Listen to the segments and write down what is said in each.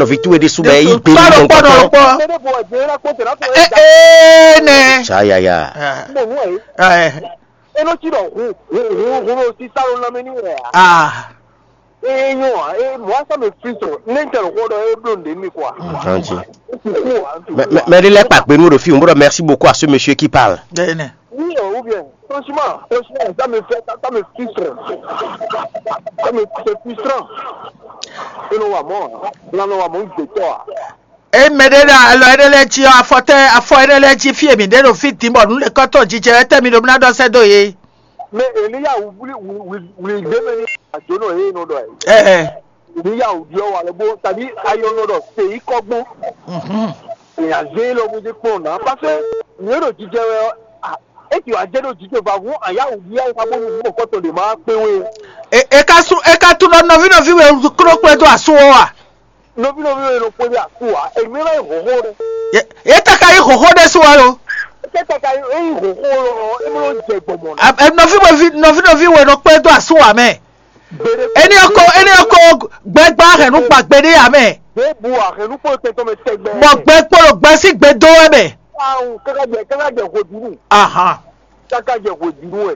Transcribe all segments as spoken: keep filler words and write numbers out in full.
Nɔví towe ɖésú bɔ é yí gbe nú mɔ̌hunkɔtɔn. Ee, ee, nɛ. Tsayaya. Ɛ, ɛ, Enɔtsi ɖɔ hun hun hun hun ɖo sisa ɖo lanmɛ ní wɛ a? Ah. Ee nyɔ a, ee mɔ asa mɛ fi sɔ, ne n tɛ lɔ kɔ ɖɔ ee blo nde mi kɔ a? Kanji. Mɛ mɛ ɖe lɛ kpa gbe nú ɖo fi, n bɔ merci beaucoup à ce monsieur qui parle. Ɛ, nɛ. Oui, ou bien, franchement, franchement, ça me fait, ça, ça me frustre. Ça me, c'est frustrant. Enɔ wa mɔ, lanɔ wa mɔ n gbetɔ a. Eye mɛ ɖé ɖo alɔ énɛ́ lɛ́ɛ jí ɔ́, afɔ tɛ́ afɔ énɛ́ lɛ́ɛ jí fí e mǐ ɖe ɖo fí din bɔ nǔ lɛ́kɔ́tɔn jijɛ wɛ tɛ́ mi ɖo ná ɖɔ sɛ́ dó yě. Mɛ Eliya wuli wuli wuli gbé mɛ ní àjò náà yé nɔ ɖɔ ɛ. Ɛɛ. Eliya wuli ɔ́ wà lɛ bó tàbí ayɔ nɔ ɖɔ sèyí kɔgbɔn. Èyàn zé lɔ bó dé kpɔn nà pàṣẹ nìyẹn ɖo jijɛ wɛ ɔ́. Eti wà jẹ́ ɖo jijɛ va hún àyà wuli ayé ká bó nu mú kɔtɔ lè máa kpé wé. E e ka sú e ka tún nɔ nɔví nɔví wɛ kló kplé dó asú ɔ́ wa. Nɔví nɔví wɛ nɔ kpé dó asú wa. Èmi lɛ hòhó ɖe. Ye ye ta ka yi hòhó ɖe sú wa lo. Kɛta ka yi eyi hòhó lɔ emi lɔ jɛ gbɔmɔ na. Nɔví nɔví nɔví nɔví wɛ nɔ kplé dó asú wa mɛ. Eni ɔkɔ eni ɔkɔ gbɛgba hɛnu gba gbe ɖe ya mɛ. Bó bu ahɛnu kpó tɛntɔn mɛ tɛgbɛ. Bɔ gbɛ kpó gbɛ sí gbe dó wɛ mɛ. Awu kaka jɛ kaka jɛ hwedunu. Ahan. Kaka jɛ hwedunu wɛ.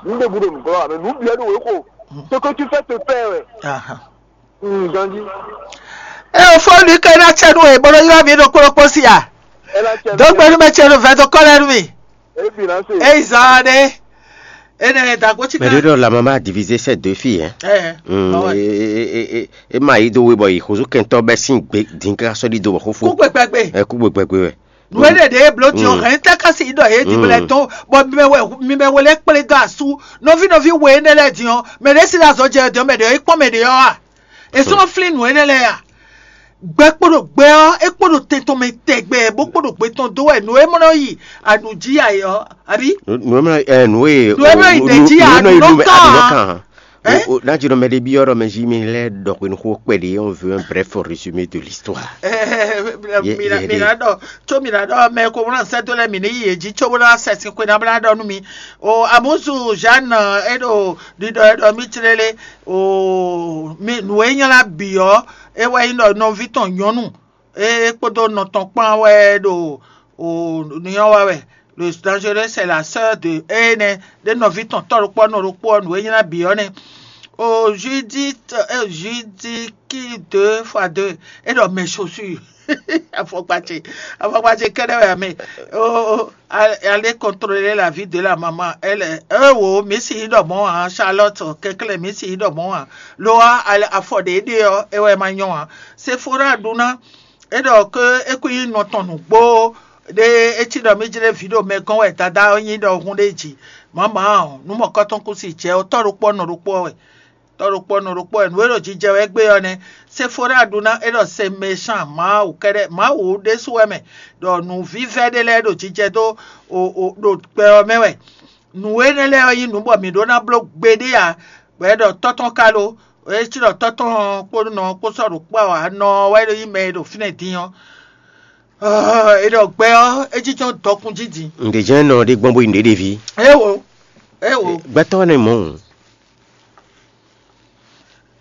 N ɖe bu ɖo nukɔ wa mɛ nu biɛ ɖo wɛ ko. Ce que tu fais te fait wɛ. Ahan. Ganji. E o fɔ nu ke na cɛ nu e bolo yɔ mi ɖo kplɔkpɔ si a. Dɔgbɛnu mɛ cɛ nu vɛ dɔ kɔ lɛ nu mi. Eyi zan ɖe. Ene dagbo ci. Mɛ ɖe ɖɔ la maman a divisé ces deux filles hein. Ɛ. Mm, e, e, e, e, e ma yi do we bɔ yi xozo kɛntɔ bɛ sin gbe din ka sɔ di do bɔ xofo. Kú gbɛgbɛgbɛ. Ɛ kú gbɛgbɛgbɛ wɛ. Nu ene ɖe blo di o hɛn tɛ kasi dɔ ye di blɛ tɔn bɔ mi mɛ wɛ mi mɛ wele kple do asu nɔvi nɔvi we ene lɛ di ɔ mɛ ɖe si la zɔ jɛ di ɔ mɛ ɖe yi kpɔn mɛ ɖe ɔ a. Èso flin nǔ énɛ́ lɛ́ɛ a? Gbɛ kpo ɖo gbɛ ɔ́, é kpo ɖo tɛn tɔn mɛ tɛgbɛ, bó kpo ɖo gbe tɔn dó wɛ nǔ e mɔ nɔ yi anu jí ayɛ ɔ́, àbí? Nǔ e mɔ ɛ nǔ e Nǔ e mɔ yi ɖe jí a nǔ nɔ kàn á. Ɛ? N'a jí nɔ mɛ ɖé byɔ́ ɖɔ mɛ jí mi lɛ́ ɖɔ xwe nuxó kpɛɖé on veut un bref résumé de l'histoire. Mina mina ɖɔ tso mina ɖɔ mɛ ko wlán sɛ́ dó lɛ mǐ ní yi yě jí có bó ná sɛ sin xwe ná bó ná ɖɔ nú mi. O amúzu Jeanne e ɖo ɖiɖɔ e ɖɔ mì clélé. O mi nǔ e nylá bǐ ɔ́, é wɛ nyí ɖɔ nɔví tɔn nyɔ̌nu e kpódó nɔ tɔn kpán wɛ ɖo o nyɔ́ wa wɛ. Le dangereux c'est la sœur de énɛ́ ɖé nɔví tɔn tɔ́ ɖokpó nɔ ɖokpó ɔ́, nǔ e nylá bǐ ɔ́ nɛ́. O Judith e Judith qui deux fois deux e ɖɔ mes chaussures. Afɔkpa ce afɔkpa ce kɛ́ɖɛ́ wɛ amɛ. O o, allez contrôler la vie de la maman. Elle est eh wo, mǐ si yi ɖɔ mɔ̌ ǎ. Charlotte kɛnklɛ́n, mǐ si yi ɖɔ mɔ̌ ǎ. Lo ɔ́, afɔ ɖě ɖe ɔ́, é wɛ ma nyɔ́ ǎ. Sephora ɖu ná é ɖɔ ké é kú nyí nɔ tɔn nǔgbó ɖé. É cí ɖɔ mí jlé vǐ ɖo mɛ gɔ́n wɛ dadá ɔ́ nyí ɖɔ hun ɖé jí. Mǎmǎ ɔ́, nú mɔ̌kɔ́tɔn kú si jɛ ɔ́, tɔ́ ɖokpó ɔ́ nɔ ɖokpó ɔ́ wɛ. Tɔ́ ɖokpó ɔ́ nɔ ɖokpó wɛ. Nǔ e ɖo jijɛ wɛ gbé ɔ́ nɛ́. Séfóra ɖu ná é ɖɔ se méchant Mawu kɛ́ɖɛ́, Mawu ɖésú wɛ mɛ, ɖɔ nǔvívɛ́ ɖé lɛ́ɛ ɖo jijɛ dó o o ɖo gbɛ ɔ́ mɛ wɛ. Nǔ énɛ́ lɛ́ɛ ɔ́ nyí nǔ bɔ mǐ ɖó ná bló gbeɖé ǎ. Bɔ é ɖɔ tɔ́ tɔn ka lo, é cí ɖɔ tɔ́ tɔn kpó nɔ kpó sɔ́ ɖo kpó ǎ, nɔ ɔ́ wɛ ɖo nyí mɛ e ɖo fínɛ́ din ɔ́. Ɔ́, é ɖɔ gbɛ ɔ́, é jínjɔ́n dɔkun jí din. Ǹdě jɛ́n nɔ ɖé gbɔn bó yi nǔɖé ɖe ví. Éwo, éwo. Gbɛtɔ́ nɛ mɔ̌.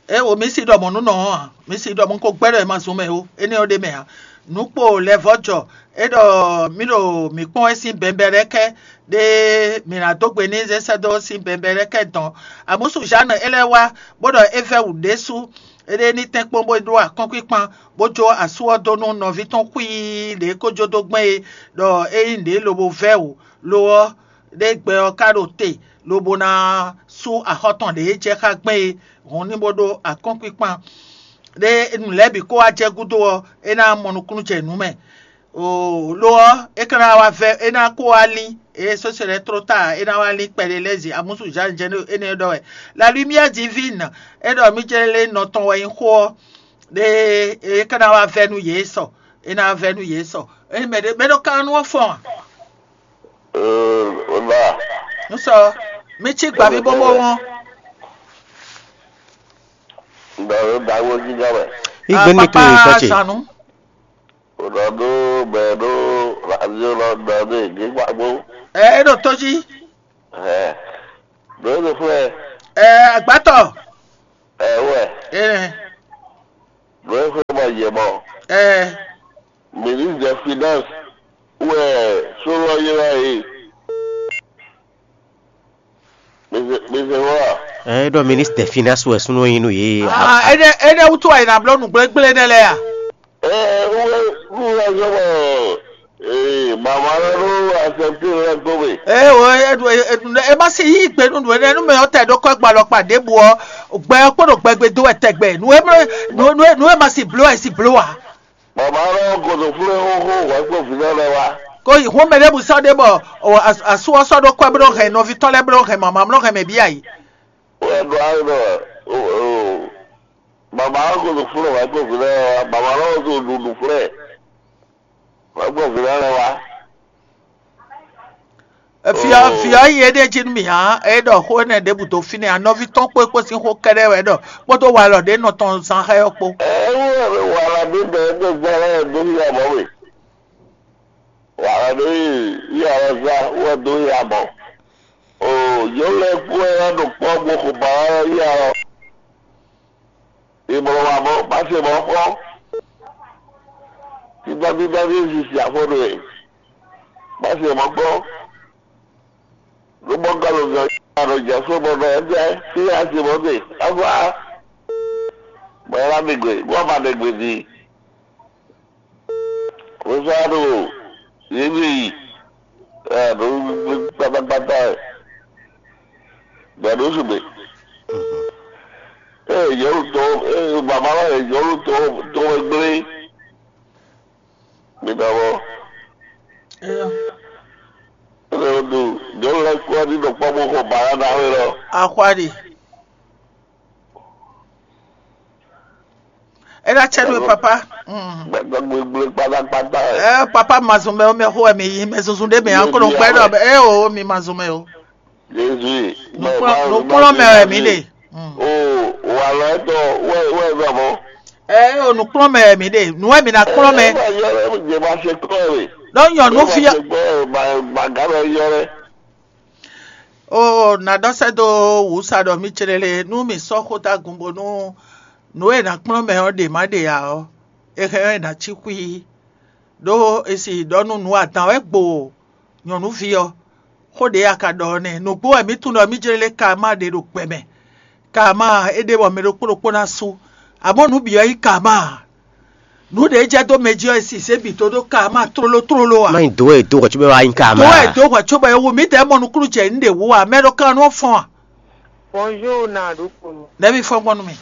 Éwo, mǐ si ɖɔ mɔ̌ nú nɔ ɔ́ ǎ. Mǐ si ɖɔ mɔ̌ ko gbɛ́ ɖɔ è ma zun mɛ ó. Énɛ́ ɔ́ ɖ'é mɛ ǎ. Nǔ kpo lɛ̌vɔ́ jɔ. É ɖɔ mǐ ɖo mǐ kpɔ́n wɛ sín bɛnbɛlɛ́kɛ́ ɖé mǐ ná dó gbe n'i zé sɛ́ dó sín bɛnbɛlɛ́kɛ́ dɔn. Amúsu Zǎnu é lɛ́ wá, bó ɖɔ é vɛ́ wǔ ɖésú. Éɖée ní tɛ́nkpɔ́n bó ɖó akɔ́nkpinkpan, bó jó asú ɔ́ dó nú nɔví tɔn xwíí ɖě é ko jó dó gbɛn é, ɖɔ é nyí nǔɖé lobo vɛ́ wǔ. Lo ɔ́, ɖé gbɛ ɔ́ ka ɖo te, lobo ná sú axɔ́ tɔn ɖě jɛ xá gbɛn é, hɔn ní bó ɖó akɔ́nkpinkpan. Ɖé nǔ lɛ́ɛ bǐ ko wá jɛ gúdo ɔ́, é ná mɔ nukúnnú jɛ nǔ mɛ. Oo, lo ɔ́, é ka ná wá vɛ́, é ná ko wá lín, é sɔ́ se lɛ́ɛ tló ta, é ná wá lín kpɛɖé lɛ́ɛ zǐn amúsu Jean Geno énɛ́ ɖɔ wɛ. La lumière divine, é ɖɔ mí jɛ lé nɔ tɔn wɛ nyí xó ɔ́, ɖé é ka ná wá vɛ́ nú yě sɔ, é ná wá vɛ́ nú yě sɔ. É mɛ ɖé mɛ ɖɔ ka nú ɔ́ fɔ́n a? Ee, wòlá. Ń sɔ, mí cí gbǎví bóbó wɔn. Ŋdɔ ló da wó jí gán mɛ. Igbe ní to Papa ìtọ́ ce. Sanu. Wòlá ɖó mɛ ɖó radio lɔ da dé gé gbàgbó. Ɛ é ɖo tó jí. Ɛ ɖó é ɖo fún ɛ. Ɛ agbátɔ. Ɛ wɛ. Ɛ. Nǔ e xwé bɔ yě mɔ, ɛ ministre des finances wɛ sóló ylɔ́ yě. Mi se wɔ a? Ɛ ɖɔ ministre des finances wɛ súnú nyi nú yě. Ah, éɖé éɖé wútu wɛ è nǎ bló nǔgblégblé nɛ́ lɛ́ɛ a? Ɛ wúwe wúwe zɔ́ bɔ ee mama lɔ ɖó asɛptí lɛ gbó mɛ. Ɛ o, e ɖu e ɖu e ma si yí gbe nú nǔ énɛ́ nú mɛ ɔ́ tɛ ɖó kɔ́ gbalɔ kpa ɖěbǔ ɔ́, gbɛ ɔ́ kpó ɖo gbɛgbɛ dó wɛ tɛgbɛ. Nǔ e mlɔ nǔ nǔ nǔ e ma si bló wɛ si bló ǎ. Mama lɔ godo flé xóxó hwɛ kpó vǐ lɔ lɛ wá. Ko yi hún mɛ ɖěbǔ sɔ́ ɖé bɔ o as- asú ɔ́ sɔ́ ɖó kɔ́ bló hɛn nɔví tɔn lɛ́ɛ bló hɛn mama mló hɛn mɛ bí ayi. Wɛ ɖo ayé ɖɔ o o mama lɔ godo flé hwɛ kpó vǐ lɔ lɛ wá, mama lɔ godo ɖuɖu flé hwɛ kpó vǐ lɔ lɛ wá. Fia fia yi éɖée jí nú mì hǎn, é ɖɔ xó énɛ́ ɖěbǔ dó fínɛ́, anɔví tɔn kpó é kpó sín xó kɛ́ɖɛ́ wɛ é ɖɔ, kpódó walɔ ɖě nɔ tɔn zán xá ɔ́ kpó. Ɛ wú wɛ wàlá bí bɛ é gbé gbá lɛ́ɛ dó yí abɔ we. Wàlá bí yí alɔ zá wɛ dó yí abɔ. O yǒ lɛ kú ɛ ɖo kpɔ́ gbó xo ba wá yí alɔ. Ìmọ̀ràn wà mọ́, má ṣe mọ́ kpɔ́. Bíbá bíbá bí èsì sì àfọ́nù ẹ̀, má ṣe mọ́ kpɔ́. Ló mọ́ gɔ́ ló zɔ yá ló jẹ́ fún mọ́ náà ẹ̀ jẹ́ sí àṣemọ́ dè. Áfá, mọ̀ ẹ́ lámì gbè, wọ́n ma ɖe gbè jí. Kò sá ɖo yě mì yi. Ɛ ɖo gbígbí kpátákpátá ɛ. Bɛ̌ ɖó sugbe. Ée yɔ̌nu tɔn ée baba lɔ yɛ yɔ̌nu tɔn tɔn wɛ gblé. Mi ɖɔ mɔ. Eyɔ. Ele ɖo yɔ̌nu lɛ kú ɔ́ ní ɖo kpɔ́ bó xɔ bǎ ná ná wé lɔ. Axwa ɖi. É ná tsɛ nú we, papa. Mm. Gbɛgbɛ gbegble kpatakpata. Ɛ papa mazun mɛ wo mɛ xo wɛ mi yi mɛ zunzun ɖe mɛ an ko nɔ gbɛ ɖɔ ɛ o mi mazun mɛ o. Jésus. Nukplɔn mɛ wɛ mi ɖe. Mm. O wà lɔ ɛtɔ wɛ wɛ zɔ mɔ. Ɛ o nukplɔn mɛ wɛ mi ɖe nu wɛ mi na kplɔn mɛ. Ɛ ma yɔ ɛ jɛ ma se kɔ ɛ. Ɖɔ nyɔnu fi. Ma se kɔ ɛ ma ma ga bɛ yɔ ɛ. Oo, nǎ ɖɔ sɛ́ dó wǔsa ɖɔ mì céɖéle nú mì sɔ́ xó dó agun bónú nǔ e è nǎ kplɔ́n mɛ ɔ́ ɖě ma ɖe ǎ ɔ́, è hɛn ɔ́ è nǎ cí xwí. Ɖó è si ɖɔ nú nǔ adǎn wɛ gbo nyɔ̌nuví ɔ́. Xó ɖě a ka ɖɔ ɔ́ nɛ́. Nǔgbó wɛ mǐ tunwun ɖɔ mì jlé lé ka ma ɖe ɖo gbɛ mɛ. Ka ma é ɖe bɔ mɛ ɖokpó ɖokpó ná sú. Amɔ̌ nǔ bǐ ɔ́ nyí ka ma ǎ. Nǔ ɖě jɛ dó mɛ jí ɔ́, è sisɛ bǐ dó ɖó ka ma tlóló tlóló ǎ. Má nyí dǒ wɛ dó hwɛ̌ cóbɔ wá nyí ka ma. Dó wɛ dó hwɛ̌ cóbɔ é wú mǐ dɛ̌ mɔ nukúnnú jɛ nǔ ɖě wú ǎ, mɛ ɖo kan nɔ fɔ́n a? Bonjour, na ɖokponu. Nɛ̌ mi fɔ́n gbɔn nú mi?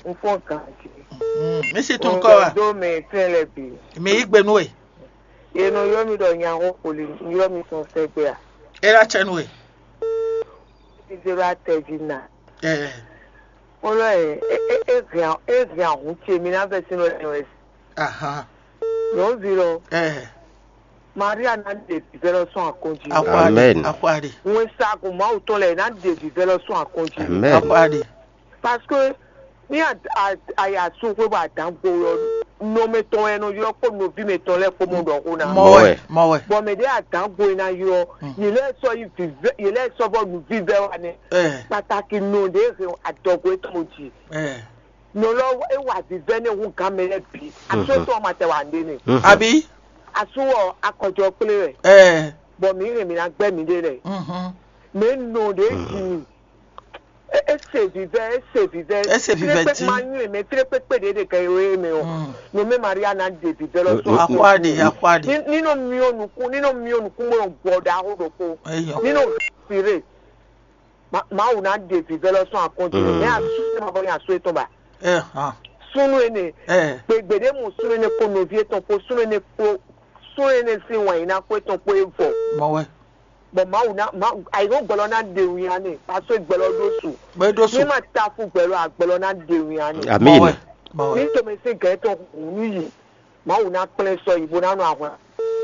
Un fɔ́n ganji. Mm, mi si tun kɔ wa? Do mɛ fɛn lɛ bǐ. Mi yí gbe nú we. Ye nɔ ylɔ́ mi ɖɔ nyaxó xoli, un ylɔ́ mi sɔn sɛgbɛ a? É ɖo acɛ nú we. Zéro atɛ jí na. Ɛ. Kpɔlɔ ɛ, e e e hɛn e hɛn ahun ce mi na vɛ sin lɔ ɛ. Ahan. Nyɔnuvi lɔ. Ɛ. Maria na ɖe vivɛ lɔ sɔn akɔnji. Akwari. Amen. Akwari. Ŋun sa kun Mawu tɔn lɛ na ɖe vivɛ lɔ sɔn akɔnji. Amen. Akwari. Parce que ní a a a yà sún xwé bɔ àdán gbo lɔ nɔmɛ tɔn ɛ nɔ ylɔ kpó nɔví mɛ tɔn lɛ kpó mɔ ɖɔ xó na. Mɔwɛ. Mɔwɛ. Bɔn mɛ ɖé àdán gbo ɛ na ylɔ. Yě lɛ sɔ yi vivɛ yě lɛ sɔ bɔ nu vivɛ wa nɛ. Ɛ. Pàtàkì nɔ ɖé hɛn adɔgo etɔn mo jì. Ɛ. Nɔ lɔ e wa vivɛ ne hu gan mɛ lɛ bi. Aso etɔn ma tɛ wa nde ne. Abi. Aso wɔ akɔjɔ kple wɛ. Ɛ. Bɔn mi hɛn mi na gbɛ mi ɖe lɛ. Mɛ nɔ ɖé jì. E e se vivɛ e se vivɛ. E se vivɛ ti. Ma nyuie mɛ file kpekpe ɖe ɖe kɛ ye mɛ o. Nɔ mɛ Maria na ɖe vivɛ lɔ sɔn. Akwadi akwadi. Ni nɔ miɔ nukun ni nɔ miɔ nukun mo gbɔ ɖaxo ɖokpo. Eyɔ. Ni nɔ fire. Mawu ná ɖe vǐvɛ́ lɔ sɔn akɔn jí mɛ asu ma bɔ nyi asu etɔn ba. Ɛ hàn. Súnú ene Ɛ. Gbegbe ɖé mu súnú ene kpó nɔví etɔn kpó súnú ene kpó súnú ene sín wǎn yìí ná kpó etɔn kpó é vɔ. Mɔ wɛ. Bɔn Mawu ná ma ayǐhɔ́n gbɛlɔ ná ɖe wín ane aso gbɛlɔ ɖó su. Bɛ ɖó su. Ní ma ta fún gbɛlɔ agbɛlɔ ná ɖe wín ane. Mɔ Amín. Wɛ. Mɔ wɛ. Ní tòmɛ sín gɛ̌ tɔn hùn ní yìí. Mawu ná kplɛ́n sɔ yi bó ná nɔ ahwan.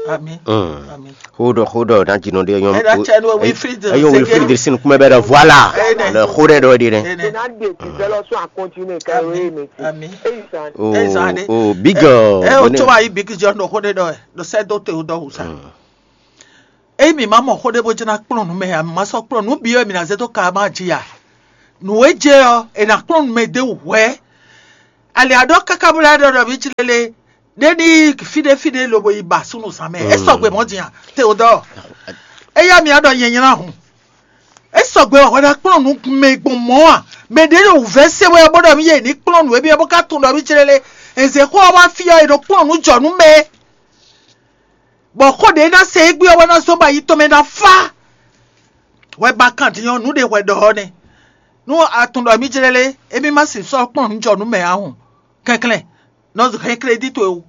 Ami. Mm. Ami. Hold on, hold on, na jino de yɔn. Ena chenu Wilfried. Eyo Wilfried sin kuma bɛ da voilà. Ene. Le hold on de ne. Ene. Ena de ti zelo so a continue ka we me ti. Ami. Eyi san. Oh, Eyi san de. Oh, big girl. Eh, o to ayi big girl no hold on. No se do te o do sa. Eyi mi ma mɔ xó ɖé bó jɛ ná kplɔ́n nǔ mɛ ǎ, mi ma sɔ́ kplɔ́n nǔ byɔ́ e mi ná zé dó ka ma jí ǎ. Nǔ e jɛ ɔ́, è nǎ kplɔ́n nǔ mɛ d'é wú hwɛ̌. Ali aɖɔ káká bó lɛ́ ɖɔ ɖɔ mǐ cí lélé ɖé ní fíɖé fíɖé lobo yi ba súnnu zán mɛ. É sɔgbe mɔ̌ din a? Teodɔɔ, éyá mi aɖɔ nyɛ nylá hǔn. É sɔgbe wɛ hwɛ ná kplɔ́n nǔ mɛ gbɔn mɔ̌ a? Mɛ ɖě ɖo wǔvɛ́ se wɛ bó ɖɔ mí yě ní kplɔ́n nǔ émí bó ka tunwun ɖɔ mí cí lélé. È zě xó ɔ́ wá fí ɔ́, è nɔ kplɔ́n nǔ jɔ nú mɛ. Bɔ xó ɖě ná se égbé ɔ́ wɛ ná zɔ́n bɔ ayi tɔn mɛ ná fá. Hwɛ ba kan din ɔ́, nǔ ɖě hwɛ ɖɔ ɔ́ nɛ́. Nú a tunwun ɖɔ mí jlɛ́ lé, émí má sixú sɔ́ kplɔ́n nǔ jɔ nú mɛ ǎ hɔn. Kɛnklɛ́n, nɔ hɛn klédí towe wú.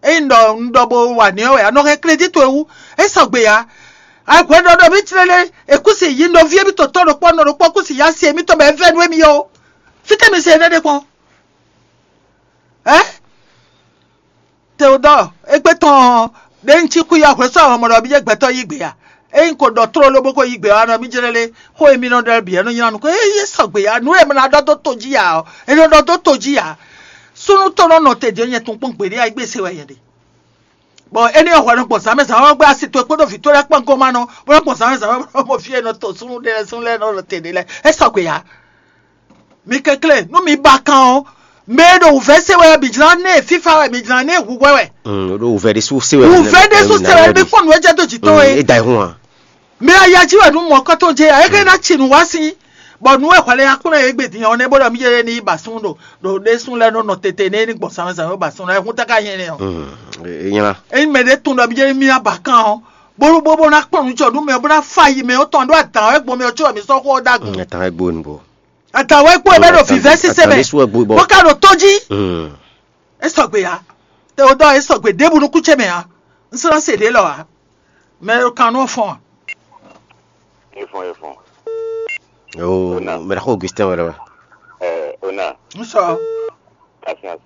Ényí un ɖɔ un ɖɔ bo wa nǔ ɔ́ wɛ ǎ, nɔ hɛn klédí towe wú. É sɔgbe ǎ. Hwɛ ɖɔ ɖɔ mí jlɛ́ lé, è kú si yi nɔví émítɔn tɔn ɖokpó nɔ ɖokpó kú si yá si émítɔn bɔ é vɛ́ nú émí ó. Fítɛ́ mi se énɛ́ ɖe kpɔ́n? Ɛ? Teodɔɔ, égbé tɔn ɔ́, ɖé un cí xwí ɔ́, hwɛ̌ sɔ́ hɔnmɔ ɖɔ mì jɛ gbɛtɔ́ yí gbe a? Ényí ko ɖɔ tlóló bó ko yí gbe ɔ́, a nɔ mì jlɛ́ lé, xó e mì nɔ ɖɔ lɛ́ɛ bǐ é nɔ nylá nukɔn. Ée é sɔgbe ǎ, nǔ e è nɔ ɖɔ dó to jí ǎ ɔ́, è nɔ ɖɔ dó to jí ǎ. Súnnu tɔn nɔ nɔ te din ɔ́, nyɛ tunwun kpɔ́n gbeɖé ǎ, égbé se wɛ nyɛ ɖe. Bɔ énɛ́ ɔ́, hwɛ nɔ gbɔn zǎnmɛ zǎnmɛ ɔ́ gbé asi towe kpódó vǐ towe lɛ́ɛ kpán gɔ́n ma nɔ, bó nɔ́ gbɔn zǎnmɛ zǎnmɛ bó nɔ́ mɔ fí e è nɔ to súnnu ɖé lɛ́ɛ, súnnu lɛ́ɛ nɔ nɔ te ɖé lɛ́ɛ. É sɔgbe ǎ. Mi kɛnklɛ́n, nú mi ba kan ɔ́, mɛ e ɖo wǔvɛ́ se wɛ ɔ́, mi jlá nɛ fífá wɛ, mi jlá nɛ hu hwɛ wɛ. Mm, ɖo wǔvɛ́ ɖésú se wɛ. Wǔvɛ́ ɖésú se wɛ, mi kpɔ́n nǔ e jɛ dó jǐ tɔn é. É da ayihún a? Mɛ aya jí wɛ nú mɔ̌kɔ́tɔn jɛ ǎ, é ka ná ci nǔ wá sín, bɔ nǔ e hwɛ lɛ́ nylá kplɔ́n é gbe din ɔ́ nɛ́, bó ɖɔ mí jɛ ní yi ba súnnu ɖo ɖo ɖésú lɛ́ɛ nɔ nɔ tete nɛ é ní gbɔn zǎnmɛ zǎnmɛ ba súnnu lɛ́ɛ, é hún táká nyɛ nɛ́ ɔ́. Mm, é nyla. Ényí mɛ ɖé tunwun ɖɔ mí jɛ ní mí ná ba kan ɔ́, bó bó bó ná kplɔ́n nǔ jɔ nú mɛ ɔ́, bó ná fa yi mɛ ɔ́ tɔn ɖó adǎn wɛ gbɔn mɛ ɔ́ có wɛ mi sɔ́ xó ɔ́ ɖó agun. Mm, atan wɛ gbo nǔgbó. Atan wɛ kpo ɛ bɛ ɖo vǐvɛ́ sísɛ́ mɛ, bó ka ɖo tó jí. Mm. É sɔgbe ǎ. Teodɔɔ, é sɔgbe ɖěbǔ nú kú ce mɛ ǎ. Un sɔ́ ná se ɖě lɔ ǎ. Mɛ e kan nú ɔ́ fɔ́n ǎ. Efɔn efɔn. Oh, Ona. Mɛ ɖaxó Augustin wɛ lɛ wɛ. Ɛ Ona. Un sɔ. Patience.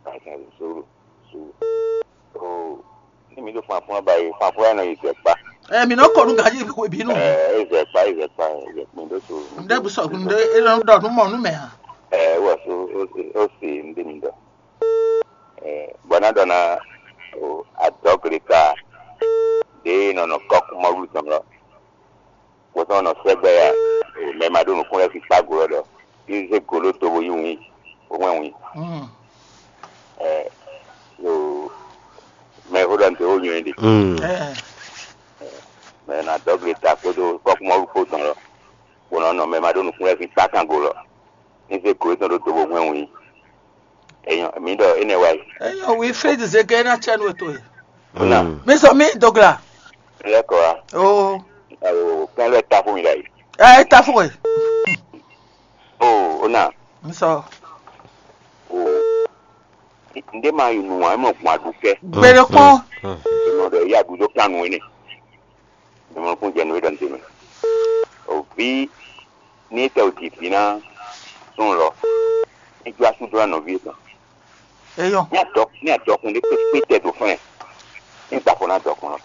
Patience, sùúrù, sùúrù. Oh, ní mi ɖo fún afún ɔ́ ba yi, fún afún ɔ́ nɔ yi zɛ kpa. Ɛ mi nɔ kɔ nú gaji hwe bínú. Ɛ e zɛ kpa, e zɛ kpa, e zɛ kpa, mi ɖo so. Ŋɖe bu sɔ ŋɖe e nɔ ɖɔ nú mɔ nú mɛ hã. Ɛ wɔ so o se o se ŋɖe mi ɖɔ. Ɛ bɔ na ɖɔ na o adɔgre ka ɖe nɔ nɔ kɔkú mɔ wú tɔn lɔ. Kpɔtɔ́ nɔ sɛgbɛ ya, mɛ ma ɖo nukún lɛ́ɛ kpikpa glo ɔ́ ɖɔ, yi zé go ɖó tobo yi wǐin, bó hwɛ́n wǐin. Mm. Ɛ, ɖo mɛ e xó ɖɔ nǔ ɖé wó nyɔ́ ɖe. Mm. Ɛ, Mɛ e nɔ adɔgble ta kpódó kɔ́kúmɔɖu kpó tɔn lɔ, bó nɔ nɔ mɛ ma ɖó nukún lɛ́ɛ kpikpa kan go lɔ, ní zé go étɔn ɖó tobo hwɛ́n wǐin. Enyɔ, mǐ ɖɔ énɛ́ wá yi. Enyɔ Wilfred Zeke ná tsɛ nú ètò yìí. Ona. Mm. Mi sɔ mi dogla. Lɛkɔ wa. Oo. Awo kɛn lɛ ta fún mi la yi. Ɛ ta fún ɛ. Oo ona. Mi sɔ. Oo. Nde ma yi nu wa mo gbɔn adu kɛ. Gbɛdɛ kpɔn. Mo ɖe ya du do kan nu ne. Mo kun jɛ nu ɖe ntɛ me. O vi ni tɛ o ti vi na sun lɔ. Ni ju asu do na nɔvi kan. Eyɔn. Ní àdɔ ní àdɔkun ɖé pépé tɛ ɖo fún ɛ. Ní gbàgbọ́ ná dɔkun lɔ.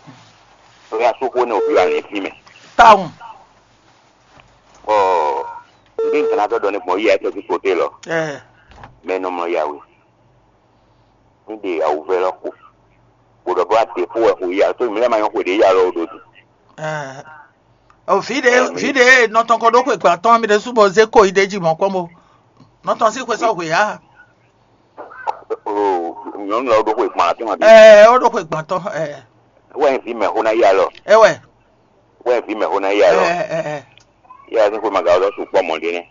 Lórí asúkú ní òbí wa ní fí mɛ. Táwọn. Ɔ bí nǹkan náà tọ́jọ́ ní gbọ̀n yí ẹ tẹ́tí kòtè lọ. Ẹ. Mɛ nɔ mlɔ yàwé. Ní de àwùvẹ́ lɔ kpo. Gbọ́dọ̀ bá dé fún ẹ kò yí àtó ìmílẹ̀ máa yọ kò dé yà lọ odò dùn. Ẹ. O fide fide nɔtɔn kɔ ɖo xwe gba tɔn mi ɖe su bɔ ze ko yi ɖe ji mɔ kpɔn bo. Nɔtɔn si xwe sɔ xwe ya. O nyɔnu lɔ ɖo xwe gba tɔn abi. Ɛ o ɖo xwe gba tɔn ɛ. Wɛ n vi mɛ xo na ya lɔ. Ɛ wɛ. Wɛ n vi mɛ xo na ya lɔ. Ɛ ɛ ɛ. Ya ni xwe ma ga lɔ su kpɔ mɔ ɖe nɛ.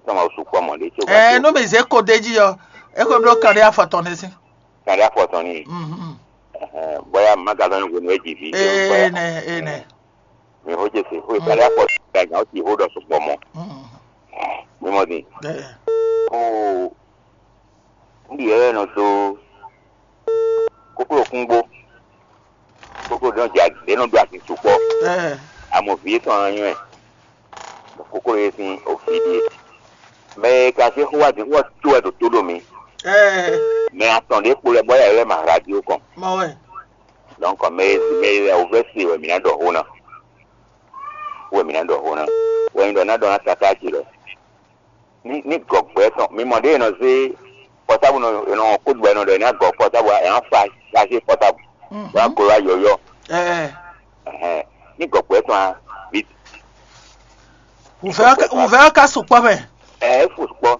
Tɔn ma su kpɔ mɔ ɖe tso. Ɛ no mi ze ko ɖe ji yɔ. E ko ɖo kan ɖe afɔ tɔn ne si. Kan ɖe afɔ tɔn ni. Mhm. Bɔya ma ga lɔ ni hwenu e ji vi. Ee nɛ ee nɛ. Mi xo Jesu xo ìpàdé àpọ̀ gàgà ó ti xo ɖɔ sukpɔ mɔ. Mi mɔ din. Ó ń ɖi ɛyɛ nɔ dó kókó kúngbó. Kókó ɖé nɔ dza ɖé nɔ dó asi sukpɔ. Amɔ vǐ etɔn nɔ nywɛ. Kókó ɖé sín òfin ɖíe. Mɛ e ka zé xó wá dín xó wá tó wɛ ɖo tó ɖo mi. Mɛ atɔn ɖé kpo lɛ bɔ yɛ lɛ ma radio kɔn. Mɔ wɛ. Donc mɛ mɛ lɛ wòvɛ se wɛ mǐ ná ɖɔ xó ná. Wɛ mǐ ná ɖɔ xó ná. Wɛ nyí ɖɔ ná ɖɔ ná káká ce lɔ. Ní ní gɔgbɛ tɔn mi mɔ ɖé nɔ zé pɔtábu nɔ nɔ kódù wɛ nɔ ɖɔ ná gɔ pɔtábu ɛ ná fa chargé pɔtábu. Wá glo wá yɔyɔ. Ɛɛ Ɛhɛn. Ní gɔgbɛ tɔn a bi. Wùfẹ́ wùfẹ́ ká sùpọ̀ mẹ́. Ɛ é fò sùpọ̀.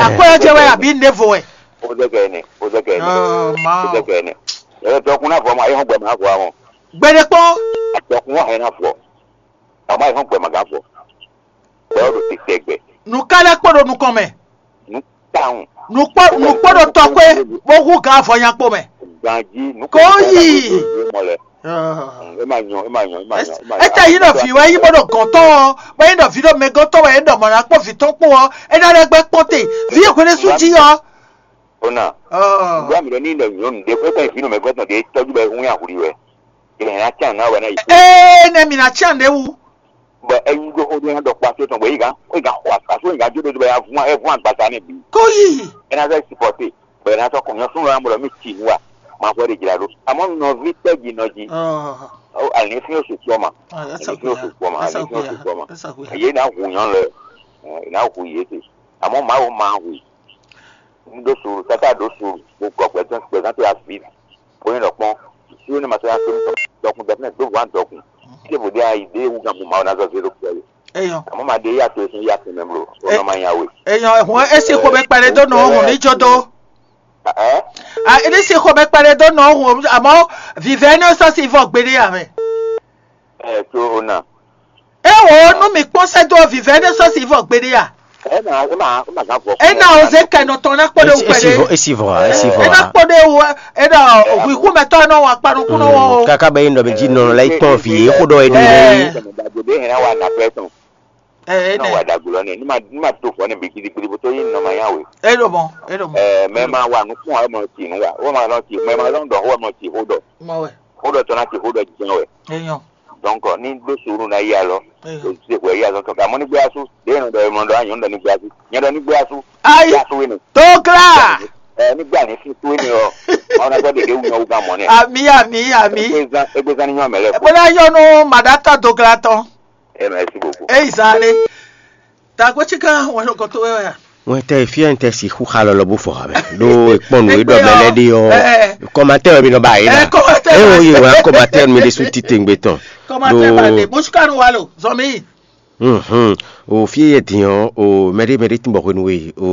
akwɛ́ ɔ́ jɛ wɛ abǐ nǔɖévo wɛ? Ó zɛ kɛ ɛnɛ, ó zɛ kɛ ɛnɛ, ó zɛ kɛ ɛnɛ. Ɛ dɔkun ná vɔ mɔ ayé hɔn gbɛ má vɔ àwọn. Gbɛɖe kpɔ́n. Dɔkun wà hɛn ná vɔ. Àmọ́ ayé hɔn gbɛ má gán vɔ. Bɛ́ ɔ́ ɖo tɛgbɛ. Nǔ ká lɛ́ kpó ɖo nukɔn mɛ. Nǔ táwọn. Nǔkpó nǔkpó ɖo tɔkpé bó hú gǎn avɔ nya kpó mɛ. Ganjí nǔkpó. Kó yì. Mɔ lɛ. Ema nyɔ, ema nyɔ, ema nyɔ, ema nyɔ. Étɛ yí ɖɔ vǐ wɛ yí bó ɖo gɔ̌n tɔn ɔ́, bó yí ɖɔ vǐ ɖo mɛgɔ́n tɔn wɛ é ɖɔ mɔ̌ ná kpɔ́n vǐ tɔn kpó ɔ́, é ná lɛ́ gbɛ́ kpɔ́n te. Vǐ e hwenu sú jí ɔ́. Ona. Ndu ami ɖɔ ní ɖɔ nyɔnu ɖe xwé kɔn vǐ nɔ mɛgɔ́n tɔn ɖe tɔjú bɛ hún ya huli wɛ. Ɛ na tian na wɛ na yi. Ee, nɛ mi na tian ɖe wu. Bɔ eyi ɖo xó ɖé ná ɖɔ kpa tó tɔn bɔ yi gán, yi gán xɔ asu yi gán jó ɖe bɛ ya vún ɛ vún agbasa nɛ bi. Kó yi. Ɛ ná sɛ supporter. Bɛ ná sɔ kɔn nyɔsún lɔ amɔ mi tsi nu wa. Ma fɔ de dzra ɖo. Amɔ nɔvi tɛ dzi nɔ dzi. Ɔ. Ɔ ali fi o sukpɔ ma. Ali fi o sukpɔ ma, ali fi o sukpɔ ma. Ye na hu nyɔ lɛ. Ɛ na hu ye te. Amɔ ma wo ma hu. Un ɖó suuru, káká ɖó suuru, bó gɔ gbɛzán gbɛzán tó avi, bó nyí ɖɔ kpɔ́n, suuru ní ma sɔ́ nya tó nú dɔkun dɔkun dɔkun dɔkun, tí è bǒ ɖe ayi ɖé wú gan mɔ Mawu ná zɔ zé ɖó kpɛ́ we. Eyɔn. Àmọ́ ma ɖe yá to e sín yá tɛnmɛ bló, ó nɔ ma nya we. Eyɔn, ehun esi xomɛ kpɛɖe dó nɔ hùn ní jó dó. Ɛ? A ní si xomɛ kpɛɖe dó nɔ hùn, àmọ́ vivɛ ní sɔ́ si vɔ gbeɖé amɛ. Ɛ tó o na. Ewò nú mi kpɔ́n sɛ́ dó vivɛ ní sɔ́ si vɔ gbeɖé a? Ɛ ma ɛ ma ɛ ma gán vɔ. E na o ze kɛ nɔ tɔn na kpɔɖe wu kpɛɖe. Esi vɔ, esi vɔ, esi vɔ. E na kpɔɖe wu, e na hu iku mɛ tɔ nɔ wa kpa nukun nɔ wɔ o. Kaka bɛ yin dɔ mi ji nɔ la yi tɔn vi e ko dɔ e do yi. Dagbe de hɛn wa na pɛ tɔn. Ɛ e Na wa nɛ. Dagbe lɔ nɛ. Ni ma ni ma to fɔ ne bi kidi kidi bo to yi nɔ ma ya we. E do mɔ, e do mɔ. Ɛ mɛ ma wa nukun wa mɔ ti nu wa. Wo ma lɔ ti mɛ ma lɔ dɔ wo mɔ ti ho dɔ. Mɔ wɛ. Ho dɔ tɔ na ti ho dɔ jɛn wɛ. E nyɔ. Donc ni ɖó suuru na yi alɔ. Eyɔ. Ɖo se hwɛ yi azɔ tɔn ka mɔ ní gbé asú ɖé nɔ ɖɔ emɔ ɖɔ anyɔ ɖɔ ní gbé asú nyɛ ɖɔ ní gbé asú. Ayi. Gbé asú wé ni. Dogla. Ɛ ní gbé àní fún tó ní ɔ ɔn na gbọ́ dèké wúnyɔ wúgá mɔ nɛ. Ami ami ami. Egbezan egbezan ní nyɔ mɛ lɛ. Bóyá yɔnu màdátà dogla tán. Ɛ mɛ si bòbò. Eyi zan ni. Tàgbé tsíká wọn ló kọ tó wẹ́wẹ́ à. Ŋwɛtɛ e fia ŋtɛ si xú xa lɔlɔ bó fɔ xamɛ ɖó ekpɔn nú e ɖɔ mɛ lɛ ɖe ɔ kɔmatɛ wɛ mi nɔ ba yi na. Ɛ kɔmatɛ e wo yi wa kɔmatɛ mi ɖe su titengbe tɔn. Kɔmatɛ ba ɖe bó tsíká nu wa lo zɔmi. Hlɔ̌nhlɔ́n, o fí e yɛ din ɔ́, o mɛɖé mɛɖé tín bɔ hwenu e o